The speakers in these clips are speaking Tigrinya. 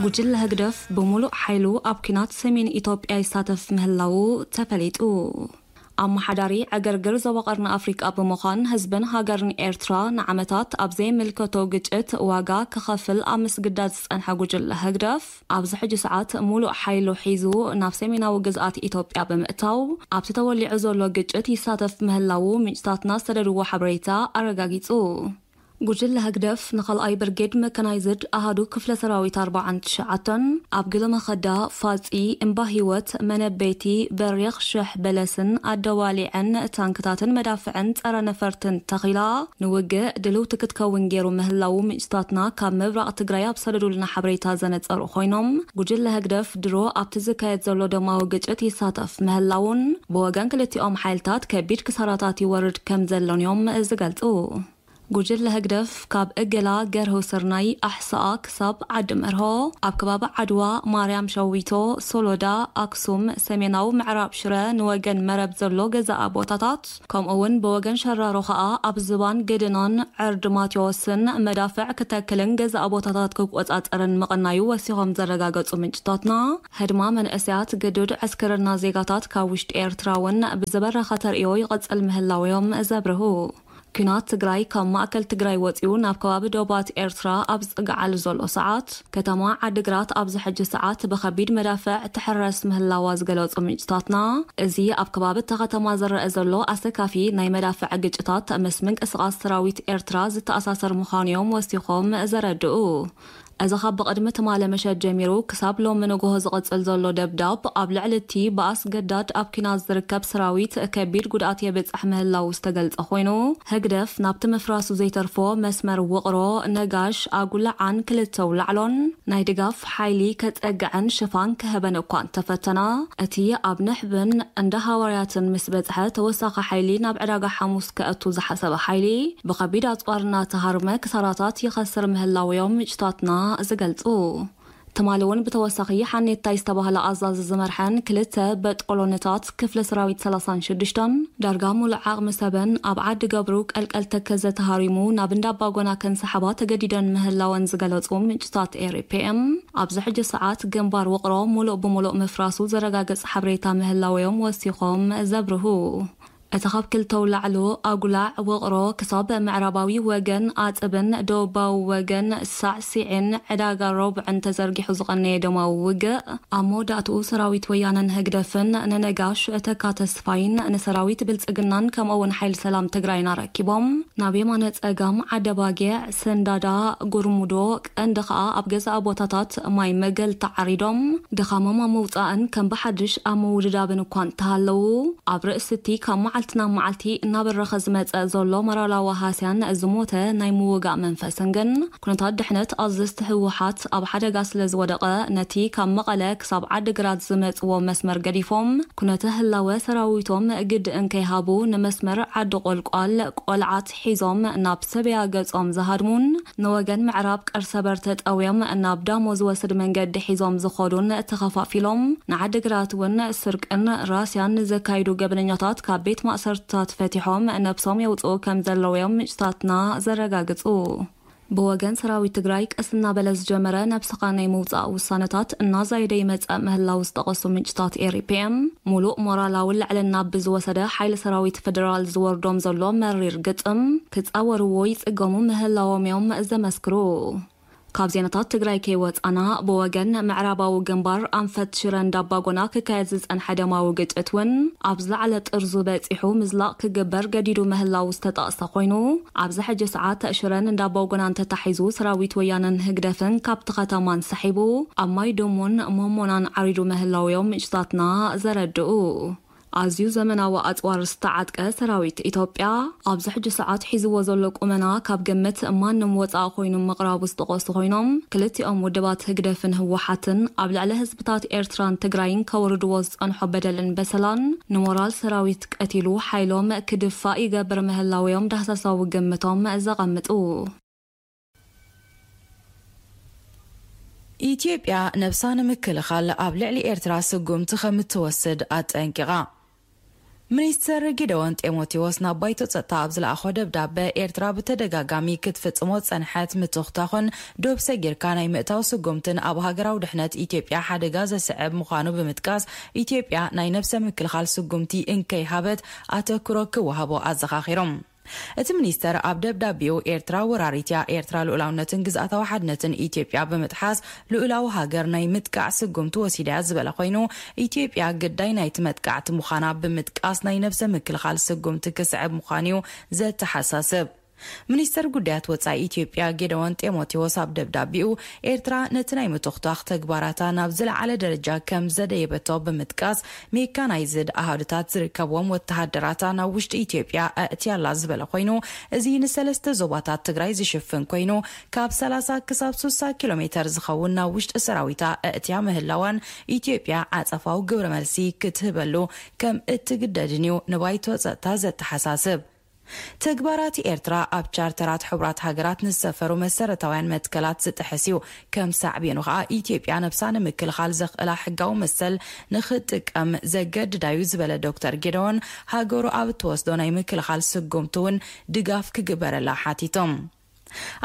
ጉጅለ ህግደፍ ብምሉእ ሓይሉ ኣብ ኲናት ሰሜን ኢትዮጵያ ይሳተፍ ምህላዉ ተፈሊጡ። ኣመሓዳሪ ዕግርግር ዞባ ቀርኒ ኣፍሪቃ ብምዃን ህዝብን ሃገርን ኤርትራ ንዓመታት ኣብ ዘይምልከቶ ግጭት ዋጋ ክኸፍል ኣብ ምስግዳድ ዝጸንሐ ጉጅለ ህግደፍ፣ ኣብዚ ሕጂ ሰዓት ሙሉእ ሓይሉ ሒዙ ናብ ሰሜናዊ ግዝኣት ኢትዮጵያ ብምእታው ኣብቲ ተወሊዑ ዘሎ ግጭት ይሳተፍ ምህላዉ ምንጭታትና ዝሰደድዎ ሓበሬታ ኣረጋጊጹ። ጉጅለ ህግደፍ ንኻልኣይ ብርጌድ መካናይዝድ ኣሃዱ ክፍለ ሰራዊት ኣርባዓን ትሽዓተን ኣብ ግለ መኸዳ፣ ፋጺ፣ እምባ ህይወት፣ መነበይቲ፣ በሪኽ፣ ሽሕ በለስን ኣደዋሊዐን ታንክታትን መዳፍዕን ጸረ ነፈርትን ተኺላ ንውግእ ድልውቲ ክትከውን ገይሩ ምህላዉ ምንጭታትና ካብ ምብራቕ ትግራይ ኣብ ሰደዱልና ሓበሬታ ዘነጸሩ ኮይኖም፣ ጉጅለ ህግደፍ ድሮ ኣብቲ ዝካየድ ዘሎ ደማዊ ግጭት ይሳተፍ ምህላዉን ብወገን ክልቲኦም ሓይልታት ከቢድ ክሳራታት ይወርድ ከም ዘሎን እዮም ዝገልጹ። ጉጅለ ህግደፍ ካብ እገላ፣ ገርሆ ስርናይ፣ ኣሕሳኣ ክሳብ ዓዲ መርሆ ኣብ ከባቢ ዓድዋ፣ ማርያም ሸዊቶ፣ ሶሎዳ፣ ኣክሱም፣ ሰሜናዊ ምዕራብ ሽረ ንወገን መረብ ዘሎ ገዛኣ ቦታታት፣ ከምኡ እውን ብወገን ሸራሮ ከኣ ኣብ ዝባን ገደናን ዕርዲ ማቴዎስን መዳፍዕ ክተክልን ገዛኣ ቦታታት ክቆጻጸርን ምቕናዩ ወሲኾም ዘረጋገጹ ምንጭታትና፣ ህድማ መንእሰያት፣ ግዱድ ዕስክርና ዜጋታት ካብ ውሽጢ ኤርትራ እውን ብዝበረኸ ተርእዮ ይቕጽል ምህላውዮም ዘብርሁ። ኲናት ትግራይ ካብ ማእከል ትግራይ ወጺኡ ናብ ከባቢ ዶባት ኤርትራ ኣብ ዝጽግዓሉ ዘሎ ሰዓት፣ ከተማ ዓዲግራት ኣብዚ ሕጂ ሰዓት ብኸቢድ መዳፍዕ ትሕረስ ምህላዋ ዝገለጹ ምንጭታትና፣ እዚ ኣብ ከባቢ እታ ከተማ ዝረአ ዘሎ ኣሰካፊ ናይ መዳፍዕ ግጭታት ምስ ምንቅስቓስ ሰራዊት ኤርትራ ዝተኣሳሰር ምዃኑ እዮም ወሲኾም ዘረድኡ። እዚ ካብ ብቕድሚ ትማሊ ምሸት ጀሚሩ ክሳብ ሎሚ ንግሆ ዝቕጽል ዘሎ ደብዳብ፣ ኣብ ልዕሊ እቲ ብኣስገዳድ ኣብ ኲናት ዝርከብ ሰራዊት ከቢድ ጉድኣት የብጽሕ ምህላዉ ዝተገልጸ ኮይኑ፣ ህግደፍ ናብቲ ምፍራሱ ዘይተርፎ መስመር ውቕሮ፣ ነጋሽ፣ ኣጉላዓን ክልተ ውላዕሎን ናይ ድጋፍ ሓይሊ ከጸግዐን ሽፋን ክህበን እኳ እንተፈተና፣ እቲ ኣብ ንሕብን እንዳ ሃዋርያትን ምስ በጽሐ ተወሳኺ ሓይሊ ናብ ዕዳጋ ሓሙስ ከእቱ ዝሓሰበ ሓይሊ ብኸቢድ ኣጽዋር እናተሃርመ ክሳራታት ይኸስር ምህላዉ እዮም ምንጭታትና ዝገልጹ። ትማሊ እውን ብተወሳኺ ሓኔታይ ዝተባህለ ኣዛዚ ዝመርሐን ክልተ በጦሎንታት ክፍለ ሰራዊት ሰላሳን ሽዱሽተን ዳርጋ ሙሉእ ዓቕሚ ሰበን ኣብ ዓዲ ገብሩ ቀልቀል ተከዘ ተሃሪሙ ናብ እንዳ ኣባጎና ከንሰሓባ ተገዲደን ምህላወን ዝገለጹ ምንጭታት ኤሪፒኤም፣ ኣብዚ ሕጂ ሰዓት ግንባር ውቕሮ ሙሉእ ብሙሉእ ምፍራሱ ዘረጋግጽ ሓበሬታ ምህላወዮም ወሲኾም ዘብርሁ። እቲ ካብ ክልተ ውላዕሎ ኣጉላዕ ውቕሮ ክሳብ ምዕራባዊ ወገን ኣጽብን ደቡባዊ ወገን ሳዕሲዕን ዕዳጋ ሮብዕን ተዘርጊሑ ዝቐነየ ደማዊ ውግእ፣ ኣብ መወዳእትኡ ሰራዊት ወያነን ህግደፍን ንነጋሽ ተካ ተስፋይን ንሰራዊት ብልጽግናን ከምኡ'ውን ሓይሊ ሰላም ትግራይን ኣረኪቦም ናብ የማነ ጸጋም ዓደባጊዕ፣ ሰንዳዳ፣ ጉርሙዶ፣ ቀንዲ ከኣ ኣብ ገዛእ ቦታታት ማይ መገል ተዓሪዶም ድኻሞም ኣብ ምውጻእን ከም ብሓድሽ ኣብ ምውድዳብን እኳ እንተሃለዉ፣ ኣብ ርእሲ እቲ ካብ መዓልቲ ናብ መዓልቲ እናበረኸ ዝመጸ ዘሎ ሞራላዊ ሃስያን ዝሞተ ናይ ምውጋእ መንፈስን ግን፣ ኩነታት ድሕነት ኣዘዝቲ ህወሓት ኣብ ሓደጋ ስለ ዝወደቐ፣ ነቲ ካብ መቐለ ክሳብ ዓዲግራት ዝመጽዎ መስመር ገዲፎም፣ ኩነተ ህላወ ሰራዊቶም ግድእን ከይሃቡ ንመስመር ዓዲ ቆልቋል ቆልዓት ሒዞም ናብ ሰበያ ገጾም ዝሃድሙን፣ ንወገን ምዕራብ ቀርሰበር ተጠውዮም ናብ ዳሞ ዝወስድ መንገዲ ሒዞም ዝኸዱን ተኸፋፊሎም ንዓዲግራት እውን ስርቅን ራስያን ንዘካይዱ ገበነኛታት ካብ ቤት ማእሰርትታት ፈቲሖም ነብሶም የውፅኡ ከም ዘለውዮም ምንጭታትና ዘረጋግፁ። ብወገን ሰራዊት ትግራይ ቀስ እናበለ ዝጀመረ ነብስኻ ናይ ምውፃእ ውሳነታት እናዛየደ ይመፀእ ምህላው ዝጠቐሱ ምንጭታት ኤሪፒኤም፣ ሙሉእ ሞራላዊ ልዕልና ብዝወሰደ ሓይሊ ሰራዊት ፌደራል ዝወርዶም ዘሎ መሪር ግጥም ክፃወርዎ ይፅገሙ ምህላዎም እዮም ዘመስክሩ። ካብ ዜናታት ትግራይ ከይወፃና፣ ብወገን ምዕራባዊ ግንባር ኣንፈት ሽረ እንዳባጎና ክካየድ ዝፀንሐ ደማዊ ግጭት እውን ኣብ ዝለዓለ ጥርዙ በፂሑ ምዝላቕ ክግበር ገዲዱ ምህላው ዝተጠቕሰ ኮይኑ፣ ኣብዚ ሕጂ ሰዓት ሽረን እንዳባጎናን ተታሒዙ ሰራዊት ወያነን ህግደፍን ካብቲ ከተማ እንሰሒቡ ኣብ ማይ ደሞን ሞሞናን ዓሪዱ ምህላው እዮም ምንጭታትና ዘረድኡ። ኣዝዩ ዘመናዊ ኣጽዋር ዝተዓጥቀ ሰራዊት ኢትዮጵያ ኣብዚ ሕጂ ሰዓት ሒዝዎ ዘሎ ቁመና ካብ ግምት ማንም ወጻኢ ኮይኑ ምቕራቡ ዝጠቐሱ ኮይኖም፣ ክልቲኦም ውድባት ህግደፍን ህወሓትን ኣብ ልዕሊ ህዝብታት ኤርትራን ትግራይን ከውርድዎ ዝጸንሖ በደልን በሰላን ንሞራል ሰራዊት ቀቲሉ ሓይሎም ክድፋእ ይገብር ምህላውዮም ዳህሳሳዊ ግምቶም ዘቐምጡ። ኢትዮጵያ ነብሳ ንምክልኻል ኣብ ልዕሊ ኤርትራ ስጉምቲ ከም እትወስድ ኣጠንቂቓ። ሚኒስተር ጊደዎን ጢሞቴዎስ ናብ ባይቶ ጸጥታ ኣብ ዝለኣኾ ደብዳበ፣ ኤርትራ ብተደጋጋሚ ክትፍጽሞ ዝጸንሐት ምትኹታኹን ዶብ ሰጊርካ ናይ ምእታው ስጉምትን ኣብ ሃገራዊ ድሕነት ኢትዮጵያ ሓደጋ ዘስዕብ ምዃኑ ብምጥቃስ፣ ኢትዮጵያ ናይ ነብሰ ምክልኻል ስጉምቲ እንከይሃበት ኣተኩሮ ክወሃቦ ኣዘኻኺሮም። እቲ ሚኒስተር ኣብ ደብዳቤኡ፣ ኤርትራ ወራሪት እያ፣ ኤርትራ ልኡላውነትን ግዝኣታዊ ሓድነትን ኢትዮጵያ ብምጥሓስ ልኡላዊ ሃገር ናይ ምጥቃዕ ስጉምቲ ወሲዳ እያ ዝበለ ኮይኑ፣ ኢትዮጵያ ግዳይ ናይቲ መጥቃዕቲ ምዃና ብምጥቃስ ናይ ነብሰ ምክልኻል ስጉምቲ ክስዕብ ምዃኑ እዩ ዘተሓሳስብ። ሚኒስተር ጉዳያት ወጻኢ ኢትዮጵያ ጌደዎን ጢሞቴዎስ ኣብ ደብዳቤኡ፣ ኤርትራ ነቲ ናይ ምትኹታኽ ተግባራታ ናብ ዝለዓለ ደረጃ ከም ዘደየበቶ ብምጥቃስ፣ ሜካናይዝድ ኣሃዱታት ዝርከብዎም ወተሃደራታ ናብ ውሽጢ ኢትዮጵያ ኣእትያ ኣላ ዝበለ ኮይኑ፣ እዚ ንሰለስተ ዞባታት ትግራይ ዝሽፍን ኮይኑ፣ ካብ ሰላሳ ክሳብ ስሳ ኪሎ ሜተር ዝኸውን ናብ ውሽጢ ሰራዊታ ኣእትያ ምህላዋን ኢትዮጵያ ዓጸፋዊ ግብረ መልሲ ክትህበሉ ከም እትግደድን እዩ ንባይቶ ጸጥታ ዘተሓሳስብ። ተግባራት ኤርትራ ኣብ ቻርተራት ሕቡራት ሃገራት ንዝሰፈሩ መሰረታውያን መትከላት ዝጥሕስ እዩ። ከም ሳዕቤኑ ከኣ ኢትዮጵያ ነብሳ ንምክልኻል ዘኽእላ ሕጋዊ መሰል ንኽትጥቀም ዘገድዳ እዩ ዝበለ ዶክተር ጌደዎን፣ ሃገሩ ኣብ እትወስዶ ናይ ምክልኻል ስጉምቲ እውን ድጋፍ ክግበረላ ሓቲቶም።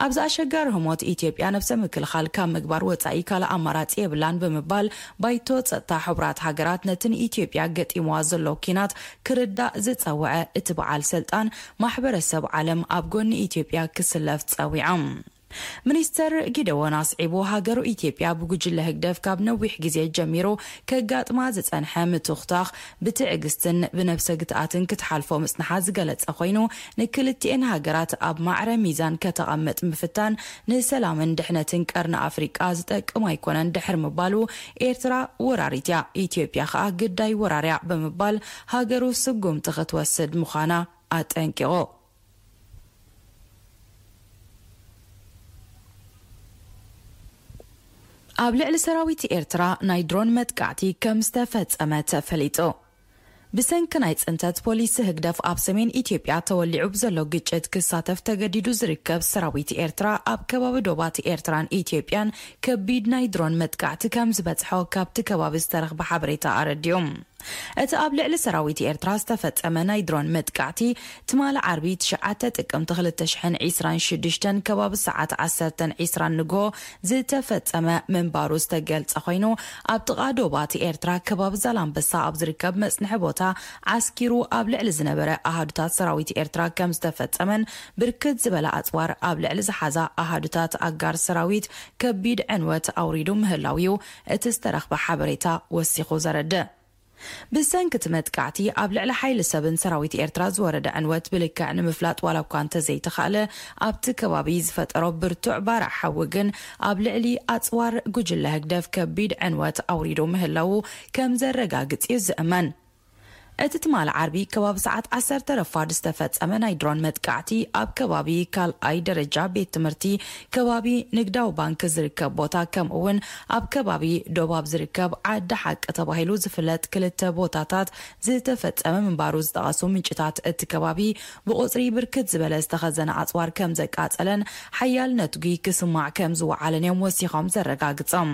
ኣብዚ ኣሸጋሪ ህሞት ኢትዮጵያ ነብሰ ምክልኻል ካብ ምግባር ወጻኢ ካልእ ኣማራጺ የብላን ብምባል፣ ባይቶ ጸጥታ ሕቡራት ሃገራት ነቲ ንኢትዮጵያ ገጢምዋ ዘሎ ኲናት ክርዳእ ዝጸውዐ እቲ በዓል ስልጣን፣ ማሕበረሰብ ዓለም ኣብ ጎኒ ኢትዮጵያ ክስለፍ ጸዊዖም። ሚኒስተር ጊደዎን ኣስዒቡ፣ ሃገሩ ኢትዮጵያ ብጉጅለ ህግደፍ ካብ ነዊሕ ግዜ ጀሚሩ ከጋጥማ ዝጸንሐ ምትኹታኽ ብትዕግስትን ብነብሰ ግትኣትን ክትሓልፎ ምጽንሓ ዝገለጸ ኮይኑ፣ ንክልቲኤን ሃገራት ኣብ ማዕረ ሚዛን ከተቐምጥ ምፍታን ንሰላምን ድሕነትን ቀርኒ ኣፍሪቃ ዝጠቅም ኣይኮነን ድሕሪ ምባሉ፣ ኤርትራ ወራሪት እያ፣ ኢትዮጵያ ከኣ ግዳይ ወራርያ ብምባል ሃገሩ ስጉምቲ ክትወስድ ምዃና ኣጠንቂቑ። ኣብ ልዕሊ ሰራዊት ኤርትራ ናይ ድሮን መጥቃዕቲ ከም ዝተፈጸመ ተፈሊጡ። ብሰንኪ ናይ ጽንተት ፖሊሲ ህግደፍ ኣብ ሰሜን ኢትዮጵያ ተወሊዑ ብዘሎ ግጭት ክሳተፍ ተገዲዱ ዝርከብ ሰራዊት ኤርትራ፣ ኣብ ከባቢ ዶባት ኤርትራን ኢትዮጵያን ከቢድ ናይ ድሮን መጥቃዕቲ ከም ዝበጽሖ ካብቲ ከባቢ ዝተረኽበ ሓበሬታ ኣረዲኡ። እቲ ኣብ ልዕሊ ሰራዊት ኤርትራ ዝተፈጸመ ናይ ድሮን መጥቃዕቲ፣ ትማሊ ዓርቢ ትሽዓተ ጥቅምቲ ክልተ ሽሕን ዕስራን ሽዱሽተን ከባቢ ሰዓት ዓሰርተን ዕስራን ንግሆ ዝተፈጸመ ምንባሩ ዝተገልጸ ኮይኑ፣ ኣብ ጥቓ ዶባት ኤርትራ ከባቢ ዛላምበሳ ኣብ ዝርከብ መጽንሒ ቦታ ዓስኪሩ ኣብ ልዕሊ ዝነበረ ኣሃዱታት ሰራዊት ኤርትራ ከም ዝተፈጸመን፣ ብርክት ዝበለ ኣጽዋር ኣብ ልዕሊ ዝሓዛ ኣሃዱታት ኣጋር ሰራዊት ከቢድ ዕንወት ኣውሪዱ ምህላው እዩ እቲ ዝተረኽበ ሓበሬታ ወሲኹ ዘረድእ። ብሰንኪ እቲ መጥቃዕቲ ኣብ ልዕሊ ሓይሊ ሰብን ሰራዊት ኤርትራ ዝወረደ ዕንወት ብልክዕ ንምፍላጥ ዋላ እኳ እንተዘይተኻእለ፣ ኣብቲ ከባቢ ዝፈጠሮ ብርቱዕ ባርዕ ሓዊ ግን ኣብ ልዕሊ ኣጽዋር ጉጅለ ህግደፍ ከቢድ ዕንወት ኣውሪዱ ምህላዉ ከም ዘረጋግጽ እዩ ዝእመን። እቲ ትማሊ ዓርቢ ከባቢ ሰዓት ዓሰርተ ረፋድ ዝተፈጸመ ናይ ድሮን መጥቃዕቲ፣ ኣብ ከባቢ ካልኣይ ደረጃ ቤት ትምህርቲ፣ ከባቢ ንግዳዊ ባንክ ዝርከብ ቦታ፣ ከምኡ እውን ኣብ ከባቢ ዶባብ ዝርከብ ዓዲ ሓቂ ተባሂሉ ዝፍለጥ ክልተ ቦታታት ዝተፈጸመ ምንባሩ ዝጠቐሱ ምንጭታት እቲ ከባቢ፣ ብቁጽሪ ብርክት ዝበለ ዝተኸዘነ ኣጽዋር ከም ዘቃጸለን ሓያል ነትጒ ክስማዕ ከም ዝወዓለን እዮም ወሲኾም ዘረጋግጾም።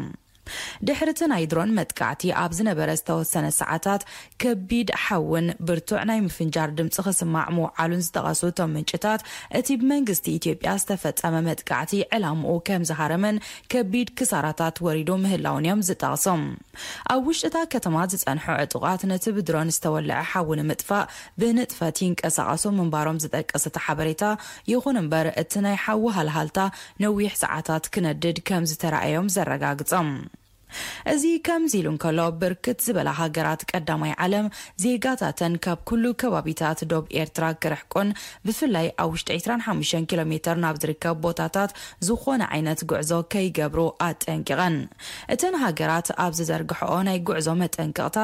ድሕሪ እቲ ናይ ድሮን መጥቃዕቲ ኣብ ዝነበረ ዝተወሰነ ሰዓታት፣ ከቢድ ሓውን ብርቱዕ ናይ ምፍንጃር ድምጺ ክስማዕ ምውዓሉን ዝጠቐሱ እቶም ምንጭታት፣ እቲ ብመንግስቲ ኢትዮጵያ ዝተፈጸመ መጥቃዕቲ ዕላምኡ ከም ዝሃረመን ከቢድ ክሳራታት ወሪዱ ምህላውን እዮም ዝጠቕሶም። ኣብ ውሽጢ እታ ከተማ ዝጸንሑ ዕጡቓት ነቲ ብድሮን ዝተወልዐ ሓዊ ንምጥፋእ ብንጥፈት ይንቀሳቐሱ ምንባሮም ዝጠቅስ እቲ ሓበሬታ፣ ይኹን እምበር እቲ ናይ ሓዊ ሃልሃልታ ነዊሕ ሰዓታት ክነድድ ከም ዝተራእዮም ዘረጋግጾም። እዚ ከምዚ ኢሉ እንከሎ፣ ብርክት ዝበላ ሃገራት ቀዳማይ ዓለም ዜጋታተን ካብ ኩሉ ከባቢታት ዶብ ኤርትራ ክርሕቁን፣ ብፍላይ ኣብ ውሽጢ ዕስራን ሓሙሽተን ኪሎ ሜተር ናብ ዝርከብ ቦታታት ዝኾነ ዓይነት ጉዕዞ ከይገብሩ ኣጠንቂቐን። እተን ሃገራት ኣብ ዝዘርግሕኦ ናይ ጉዕዞ መጠንቀቕታ፣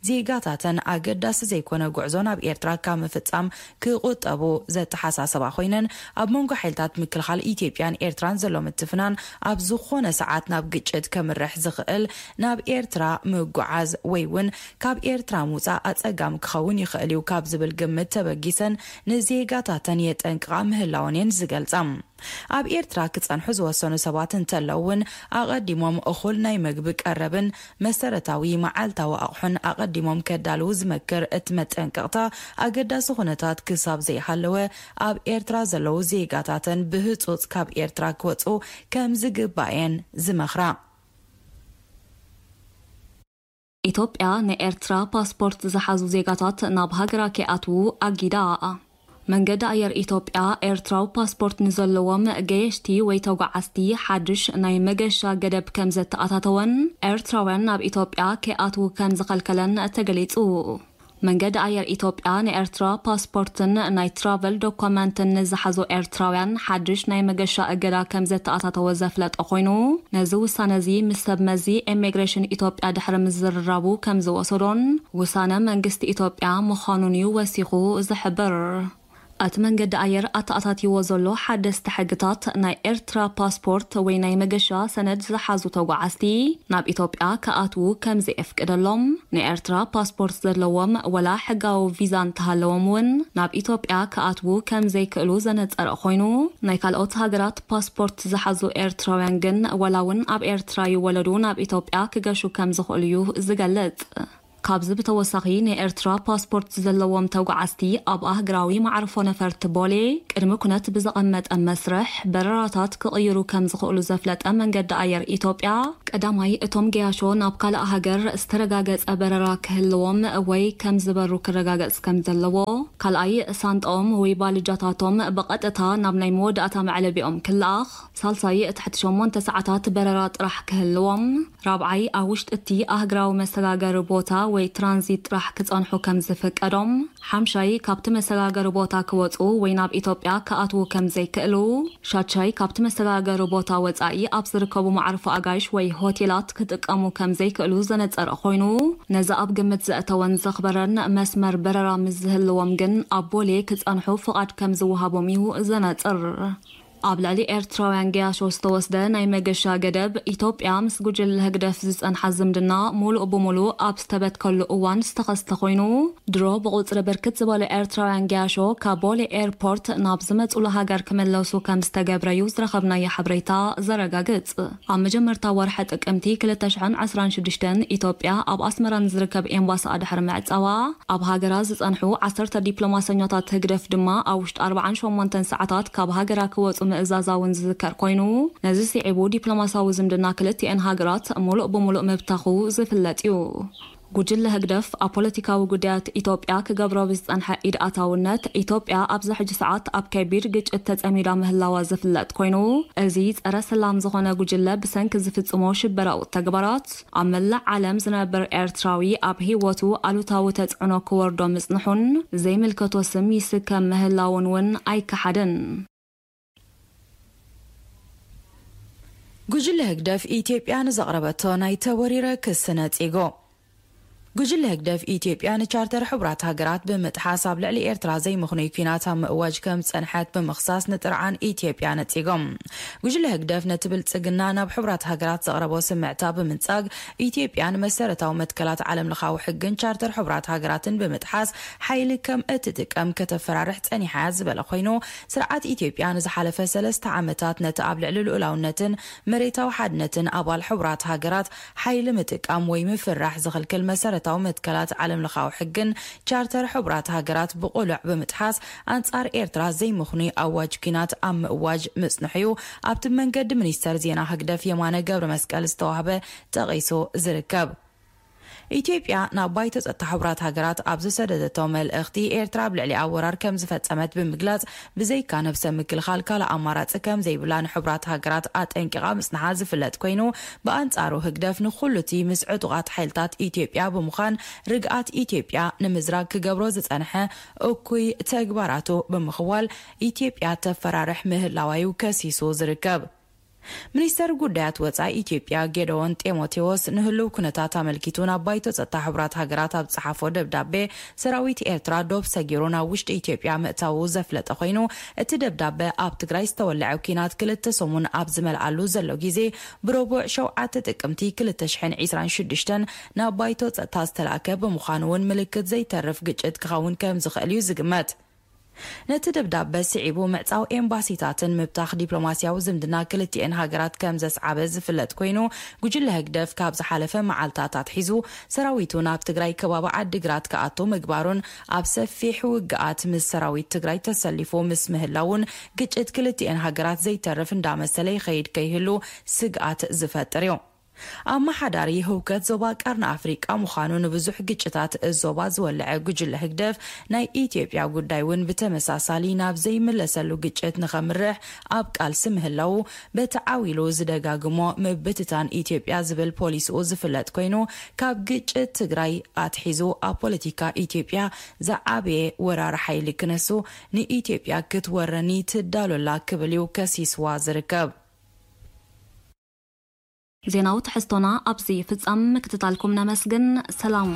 ዜጋታተን ኣገዳሲ ዘይኮነ ጉዕዞ ናብ ኤርትራ ካብ ምፍጻም ክቑጠቡ ዘተሓሳሰባ ኮይነን፣ ኣብ መንጎ ሓይልታት ምክልኻል ኢትዮጵያን ኤርትራን ዘሎ ምትፍናን ኣብ ዝኾነ ሰዓት ናብ ግጭት ከምርሕ ዝኽእል ናብ ኤርትራ ምጉዓዝ ወይ እውን ካብ ኤርትራ ምውጻእ ኣጸጋሚ ክኸውን ይኽእል እዩ ካብ ዝብል ግምት ተበጊሰን ንዜጋታተን የጠንቅቓ ምህላወን እየን ዝገልጻ። ኣብ ኤርትራ ክጸንሑ ዝወሰኑ ሰባት እንተለዉ እውን ኣቐዲሞም እኹል ናይ መግቢ ቀረብን መሰረታዊ መዓልታዊ ኣቑሑን ኣቐዲሞም ከዳልዉ ዝመክር እቲ መጠንቀቕታ፣ ኣገዳሲ ኩነታት ክሳብ ዘይሃለወ ኣብ ኤርትራ ዘለዉ ዜጋታተን ብህጹጽ ካብ ኤርትራ ክወጹ ከም ዝግባእ እየን ዝመኽራ። ኢትዮጵያ ንኤርትራ ፓስፖርት ዝሓዙ ዜጋታት ናብ ሃገራ ከይኣትዉ ኣጊዳ። መንገዲ ኣየር ኢትዮጵያ ኤርትራዊ ፓስፖርት ንዘለዎም ገየሽቲ ወይ ተጓዓዝቲ ሓድሽ ናይ መገሻ ገደብ ከም ዘተኣታተወን ኤርትራውያን ናብ ኢትዮጵያ ከይኣትዉ ከም ዝኸልከለን ተገሊጹ። መንገዲ ኣየር ኢትዮጵያ ንኤርትራ ፓስፖርትን ናይ ትራቨል ዶኮመንትን ንዝሓዙ ኤርትራውያን ሓድሽ ናይ መገሻ እገዳ ከም ዘተኣታተወ ዘፍለጠ ኮይኑ፣ ነዚ ውሳነ እዚ ምስ ሰብ መዚ ኢሚግሬሽን ኢትዮጵያ ድሕሪ ምዝርራቡ ከም ዝወሰዶን ውሳነ መንግስቲ ኢትዮጵያ ምዃኑን እዩ ወሲኹ ዝሕብር። እቲ መንገዲ ኣየር ኣተኣታትይዎ ዘሎ ሓደስቲ ሕግታት፣ ናይ ኤርትራ ፓስፖርት ወይ ናይ መገሻ ሰነድ ዝሓዙ ተጓዓዝቲ ናብ ኢትዮጵያ ክኣትዉ ከም ዘየፍቅደሎም፣ ንኤርትራ ፓስፖርት ዘለዎም ወላ ሕጋዊ ቪዛ እንተሃለዎም እውን ናብ ኢትዮጵያ ክኣትዉ ከም ዘይክእሉ ዘነጸረ ኮይኑ፣ ናይ ካልኦት ሃገራት ፓስፖርት ዝሓዙ ኤርትራውያን ግን ወላ እውን ኣብ ኤርትራ ይወለዱ ናብ ኢትዮጵያ ክገሹ ከም ዝኽእሉ እዩ ዝገልጽ። ካብዚ ብተወሳኺ ንኤርትራ ፓስፖርት ዘለዎም ተጓዓዝቲ ኣብ ኣህግራዊ መዕርፎ ነፈርቲ ቦሌ ቅድሚ ኩነት ብዘቐመጠ መስርሕ በረራታት ክቕይሩ ከም ዝኽእሉ ዘፍለጠ መንገዲ ኣየር ኢትዮጵያ፣ ቀዳማይ እቶም ገያሾ ናብ ካልእ ሃገር ዝተረጋገጸ በረራ ክህልዎም ወይ ከም ዝበሩ ክረጋገጽ ከም ዘለዎ፣ ካልኣይ ሳንጣኦም ወይ ባልጃታቶም ብቐጥታ ናብ ናይ መወዳእታ መዕለቢኦም ክለኣኽ፣ ሳልሳይ ትሕቲ ሸሞንተ ሰዓታት በረራ ጥራሕ ክህልዎም፣ ራብዓይ ኣብ ውሽጢ እቲ ኣህግራዊ መሰጋገሪ ቦታ ወይ ትራንዚት ጥራሕ ክጸንሑ ከም ዝፍቀዶም፣ ሓምሻይ ካብቲ መሰጋገሪ ቦታ ክወጹ ወይ ናብ ኢትዮጵያ ክኣትዉ ከም ዘይክእሉ፣ ሻድሻይ ካብቲ መሰጋገሪ ቦታ ወጻኢ ኣብ ዝርከቡ መዓርፎ ኣጋይሽ ወይ ሆቴላት ክጥቀሙ ከም ዘይክእሉ ዘነጸረ ኮይኑ፣ ነዚ ኣብ ግምት ዘእተወን ዘኽበረን መስመር በረራ ምስ ዝህልዎም ግን ኣብ ቦሌ ክጸንሑ ፍቓድ ከም ዝወሃቦም እዩ ዘነጽር። ኣብ ልዕሊ ኤርትራውያን ገያሾ ዝተወስደ ናይ መገሻ ገደብ፣ ኢትዮጵያ ምስ ጉጅለ ህግደፍ ዝጸንሓ ዝምድና ሙሉእ ብሙሉእ ኣብ ዝተበትከሉ እዋን ዝተኸስተ ኮይኑ፣ ድሮ ብቑጽሪ ብርክት ዝበሉ ኤርትራውያን ገያሾ ካብ ቦሌ ኤርፖርት ናብ ዝመጹሉ ሃገር ክምለሱ ከም ዝተገብረ እዩ ዝረኸብናዮ ሓበሬታ ዘረጋግጽ። ኣብ መጀመርታ ወርሒ ጥቅምቲ ክልተ ሽሕን ዕስራን ሽዱሽተን ኢትዮጵያ ኣብ ኣስመራ ንዝርከብ ኤምባሲኣ ድሕሪ ምዕጻዋ፣ ኣብ ሃገራ ዝጸንሑ ዓሰርተ ዲፕሎማሰኛታት ህግደፍ ድማ ኣብ ውሽጢ ኣርባዓን ሸሞንተን ሰዓታት ካብ ሃገራ ክወጹ ምእዛዛ እውን ዝዝከር ኮይኑ፣ ነዚ ስዒቡ ዲፕሎማሳዊ ዝምድና ክልቲኤን ሃገራት ሙሉእ ብሙሉእ ምብታኹ ዝፍለጥ እዩ። ጉጅለ ህግደፍ ኣብ ፖለቲካዊ ጉዳያት ኢትዮጵያ ክገብሮ ብዝጸንሐ ኢድ ኣታውነት፣ ኢትዮጵያ ኣብዚ ሕጂ ሰዓት ኣብ ከቢድ ግጭት ተጸሚዳ ምህላዋ ዝፍለጥ ኮይኑ፣ እዚ ጸረ ሰላም ዝኾነ ጉጅለ ብሰንኪ ዝፍጽሞ ሽበራዊ ተግባራት ኣብ መላእ ዓለም ዝነብር ኤርትራዊ ኣብ ህይወቱ ኣሉታዊ ተጽዕኖ ክወርዶ ምጽንሑን ዘይምልከቶ ስም ይስከም ምህላውን እውን ኣይከሓድን። ጉጅለ ህግደፍ ኢትዮጵያ ንዘቕረበቶ ናይ ተወሪረ ክሲ ነጺጎ። ጉጅለ ህግደፍ ኢትዮጵያ ንቻርተር ሕቡራት ሃገራት ብምጥሓስ ኣብ ልዕሊ ኤርትራ ዘይምኽኑይ ኲናት ኣብ ምእዋጅ ከም ዝጸንሐት ብምኽሳስ ንጥርዓን ኢትዮጵያ ነጺጎም። ጉጅለ ህግደፍ ነቲ ብልጽግና ናብ ሕቡራት ሃገራት ዘቕረቦ ስምዕታ ብምንጻግ፣ ኢትዮጵያ ንመሰረታዊ መትከላት ዓለምለኻዊ ሕግን ቻርተር ሕቡራት ሃገራትን ብምጥሓስ ሓይሊ ከም እትጥቀም ከተፈራርሕ ጸኒሓ ዝበለ ኮይኑ፣ ስርዓት ኢትዮጵያ ንዝሓለፈ ሰለስተ ዓመታት ነቲ ኣብ ልዕሊ ልኡላውነትን መሬታዊ ሓድነትን ኣባል ሕቡራት ሃገራት ሓይሊ ምጥቃም ወይ ምፍራሕ ዝኽልክል መሰረታዊ መትከላት ዓለምለኻዊ ሕግን ቻርተር ሕቡራት ሃገራት ብቕሉዕ ብምጥሓስ፣ ኣንጻር ኤርትራ ዘይምኽኑይ ኣዋጅ ኲናት ኣብ ምእዋጅ ምጽንሑ እዩ ኣብቲ መንገዲ ሚኒስተር ዜና ህግደፍ የማነ ገብረ መስቀል ዝተዋህበ ጠቒሱ ዝርከብ። ኢትዮጵያ ናብ ባይቶ ጸጥታ ሕቡራት ሃገራት ኣብ ዝሰደደቶ መልእኽቲ፣ ኤርትራ ኣብ ልዕሊኣ ወራር ከም ዝፈጸመት ብምግላጽ፣ ብዘይካ ነብሰ ምክልኻል ካልእ ኣማራጺ ከም ዘይብላ ንሕቡራት ሃገራት ኣጠንቂቓ ምጽንሓ ዝፍለጥ ኮይኑ፣ ብኣንጻሩ ህግደፍ ንኹሉ እቲ ምስ ዕጡቓት ሓይልታት ኢትዮጵያ ብምዃን ርግኣት ኢትዮጵያ ንምዝራግ ክገብሮ ዝጸንሐ እኩይ ተግባራቱ ብምኽዋል፣ ኢትዮጵያ ተፈራርሕ ምህላዋ እዩ ከሲሱ ዝርከብ። ሚኒስተር ጉዳያት ወጻኢ ኢትዮጵያ ጌደዎን ጢሞቴዎስ ንህልው ኩነታት ኣመልኪቱ ናብ ባይቶ ጸጥታ ሕቡራት ሃገራት ኣብ ዝጸሓፎ ደብዳቤ፣ ሰራዊት ኤርትራ ዶብ ሰጊሩ ናብ ውሽጢ ኢትዮጵያ ምእታዉ ዘፍለጠ ኮይኑ፣ እቲ ደብዳበ ኣብ ትግራይ ዝተወለዐ ኲናት ክልተ ሰሙን ኣብ ዝመልኣሉ ዘሎ ግዜ፣ ብረቡዕ ሸውዓተ ጥቅምቲ ክልተ ሽሕን ዕስራን ሽዱሽተን ናብ ባይቶ ጸጥታ ዝተላእከ ብምዃኑ እውን ምልክት ዘይተርፍ ግጭት ክኸውን ከም ዝኽእል እዩ ዝግመት። ነቲ ደብዳበ ስዒቡ ምዕጻው ኤምባሲታትን ምብታኽ ዲፕሎማስያዊ ዝምድና ክልቲኤን ሃገራት ከም ዘስዓበ ዝፍለጥ ኮይኑ፣ ጉጅለ ህግደፍ ካብ ዝሓለፈ መዓልታት ኣትሒዙ ሰራዊቱ ናብ ትግራይ ከባቢ ዓዲግራት ክኣቱ ምግባሩን ኣብ ሰፊሕ ውግኣት ምስ ሰራዊት ትግራይ ተሰሊፉ ምስ ምህላውን ግጭት ክልቲኤን ሃገራት ዘይተርፍ እንዳመሰለ ይኸይድ ከይህሉ ስግኣት ዝፈጥር እዩ። ኣመሓዳሪ ህውከት ዞባ ቀርኒ ኣፍሪቃ ምዃኑ ንብዙሕ ግጭታት ዞባ ዝወለዐ ጉጅለ ህግደፍ ናይ ኢትዮጵያ ጉዳይ እውን ብተመሳሳሊ ናብ ዘይምለሰሉ ግጭት ንኸምርሕ ኣብ ቃልሲ ምህላዉ በቲ ዓው ኢሉ ዝደጋግሞ ምብትታን ኢትዮጵያ ዝብል ፖሊሲኡ ዝፍለጥ ኮይኑ ካብ ግጭት ትግራይ ኣትሒዙ ኣብ ፖለቲካ ኢትዮጵያ ዝዓበየ ወራሪ ሓይሊ ክነሱ ንኢትዮጵያ ክትወረኒ ትዳሎላ ክብል እዩ ከሲስዋ ዝርከብ። ዜናዊ ትሕዝቶና ኣብዚ ፍጻም ምክትታልኩም ነመስግን። ሰላም።